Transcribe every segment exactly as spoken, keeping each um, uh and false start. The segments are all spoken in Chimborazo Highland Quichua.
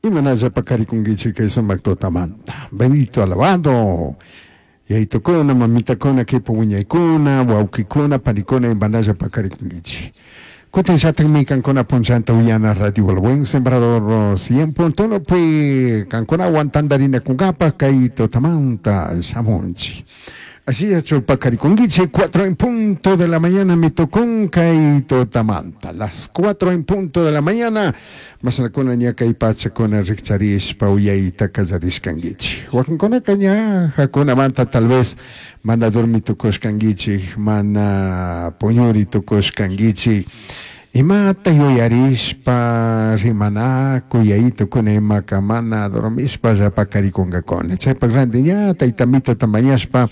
Imanalla paqarikunkichik kay sumaq tutamanta. Bendito, alabado. Yayitukuna, mamitakuna, kipa wiñaykuna, wawkikuna, panikuna imanalla paqarikunkichik. Kutin llatakmi kankuna punchanta uyana Radio El Buen Sembrador cien punto uno pi kankunawan tantarinakunkapaq kay tutamanta shamunchik. Así paqarikunkichik, cuatro en punto de la mañana me tocó kay tutamanta. Las cuatro en punto de la mañana. Masnakuna ña kay pachakuna rikcharishpa uyayta kallarishkankichik. Wakinkunaka ña hakunamanta tal vez mana dormi tukushkankichik, mana puñuri tukushkankichik. Imata yuyarishpa rimanakuy yayitukuna imaka mana dormishpa paqarikunkakuna. Chaypak ranti ña tayta Amitota mañashpa,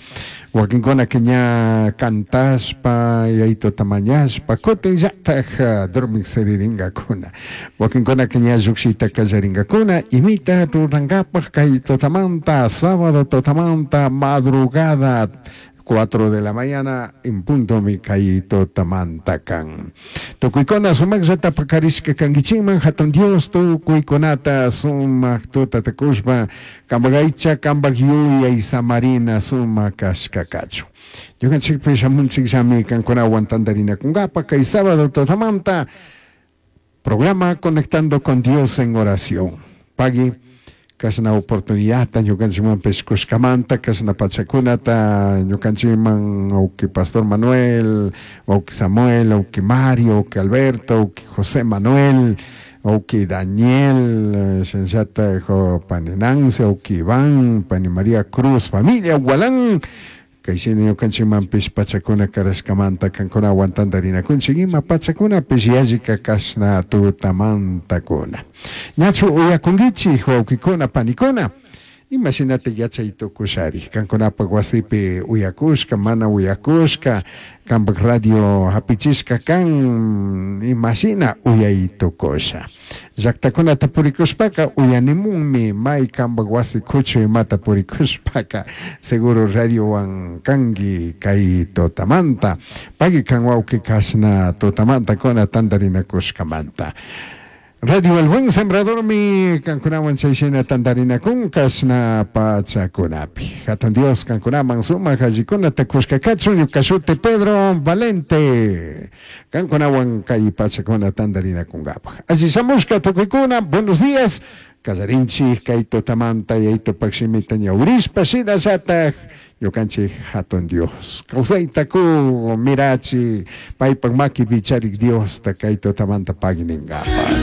wakinkunaka ña cantashpa yayituta mañashpa kutinllatak dormik siriringakuna. Wakinkunaka ña llukshita kallarinkakuna imita rurankapak kay tutamanta, sábado tutamanta, madrugada, cuatro de la mañana en punto mi kay tutamanta kan. Tukuykuna sumaqllata paqarishka kankichikman. Hatun Dios tukuykunata sumaq tutata kushpa kampak aycha, kampak yuyay samarina sumaq kashka kachun. Ñukanchikpish shamunchikllami kankunawan tantarinakunkapaq kay sábado tutamanta, programa Conectando con Dios en Oración. Pagui kashna oportunidad ñukanchikmanpish kushkamanta, kashna pachakunata ñukanchikman wawki Pastor Manuel, wawki Samuel, wawki Mario, wawki Alberto, wawki José Manuel, wawki Daniel, shinallatak pani Nancy, wawki Iván, pani María Cruz, familia Gualán, kayshina ñukanchikmanpish pachakuna karashkamanta kankunawan tantarinakunchik ima pachakunapish yallika kashna tutamantakuna. Ñachu uyakunkichik, wawkikuna, panikuna? Imashinata yachay tukushari kankunapak wasipi uyakushka, mana uyakushka, kampak radio hapichishka kan, imashina uyay tukusha? Llaktakunata purikushpaka uyanimunmi. May kampak wasi kuchu imata purikushpaka seguro radiowan kanki kay tutamanta. Pagui kan, wawki, kashna tutamanta kuna tantarinakushkamanta. Radio El Buen Sembradormi kankunawan chayshina tantarinakun kashna pachakunapi. Hatun Dios kankunaman sumak allikunata kushka kachun. Ñuka shuti Pedro Valente. Kankunawan kay pachakuna tantarinakunkapaq. Alli shamushka tukuykuna, buenos días. Kallarinchik kay tutamanta yayitupak shimita ñawirishpa, shinallatak ñukanchik hatun Dios kawsayta ku mirachi paypak makipi charik Diosta kay tutamanta pagui ninkapaq.